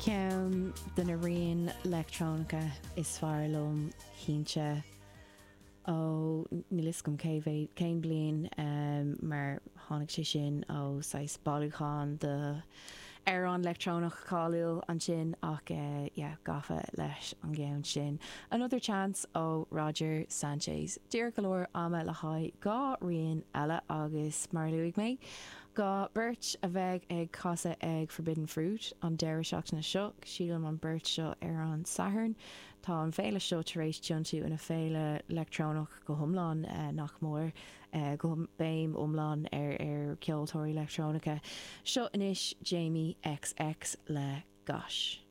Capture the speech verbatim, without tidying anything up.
Ceann de na rian leictreonacha is fearr liom cinnte ó níl fhios agam cé mhéad cén bliain um, mar tháinig sé sin ó saghas bailiúchán de amhrán leictreonach cáiliúil ansin ach uh, yeah, gafa leis an gceann sin. Another Chance ó Roger Sanchez. Díreach go leor ama le haghaidh dhá rian eile agus mar luaigh mé. Dhá bheirt a bheidh ag casadh ag Forbidden Fruit an deireadh seachtaine seo, sílim an bheirt seo ar an Satharn. Tá an féile seo tar éis tiontú ina féile leictreonach go hiomlán eh, nach mór eh, go béim iomlán ar ar ceoltóirí leictreonacha. Seo anois Jamie XX le Gosh.